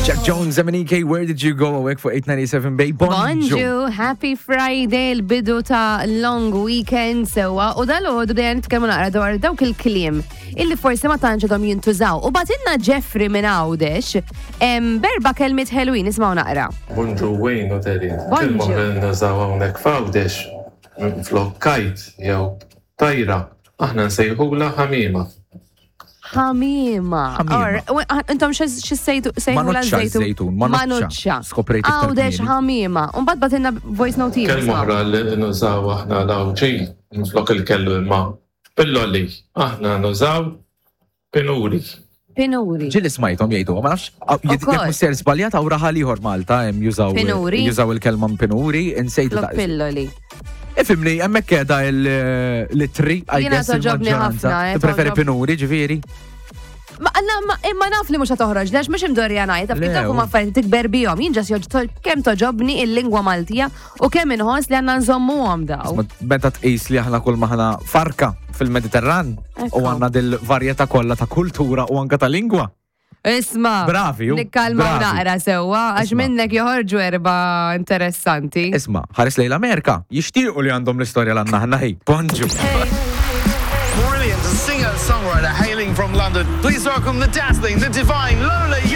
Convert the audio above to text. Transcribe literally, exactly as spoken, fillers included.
Jack Jones, M N E K, "Where Did You Go?" Awake for eight ninety-seven Bay. Bonġu. Bonġu, happy Friday, l-bidu ta' long weekend sewa. U dal-għodu bdejna nitkellmu naqra dwar dawk il-kliem illi forsi ma tantx għadhom jintużaw. U bagħtilna Jeffrey minn Għawdex em, b'erba' kelmiet ħelwin, nisimgħu naqra. Bonġu Wayne u Terry. Bonġu. Kelma li nużaw hawnhekk f'Għawdex flok kite jew tajra. Aħna nsejħula ħamima. Ħamima. Ħamima. Or, u- ah, intom x'sejtu sejħula? Manuċċa żejtun, manuċċa. Manuċċa. Skoprejt iktar Għawdex kmieni. ħamima. Umbagħad bagħtilna voice note ieħor. Kelma oħra li nużaw aħna l-Għawdxin flok il-kelma pilloli. Aħna nużaw pinuri. Pinuri. Ġieli smajthom jgħidu, ma nafx, jekk Ukoll. mhux ser żbaljat hawn raħal ieħor Malta hemm jużaw Pinuri. jużaw il-kelma pinuri, insejtu Flok ta' pilloli. Ifhimni, hemmhekk qiegħda l-tri, I Jiena guess toġobni il-maġġoranza. ħafna, eh, Tippreferi toġob- pinuri, ġifieri? Ma, na, ma, imma naf li mhux toħroġ, għax mhux imdorrija ngħid, taf kif Le, dawk huma u- affarijiet tikber bihom. Jien ġas joġ kemm toġobni il-lingwa Maltija u kemm inħoss li għandna nżommuhom daw. Ma meta tqis li aħna kull maħna farka fil-Mediterran u Ekku. għandna dil-varjetà kollha ta' kultura u anka ta' lingwa. Isma, Bravi, ju, nikkalmaw bravi. naqra sewwa, għax Isma. minnek joħorġu erba interessanti. Isma, ħares lejn l-Amerika, jixtiequ li għandhom l-istorja l għandna aħna hi. Bonġu. Brilliant singer-songwriter hailing from London. Please welcome the dazzling, the divine Lola Young.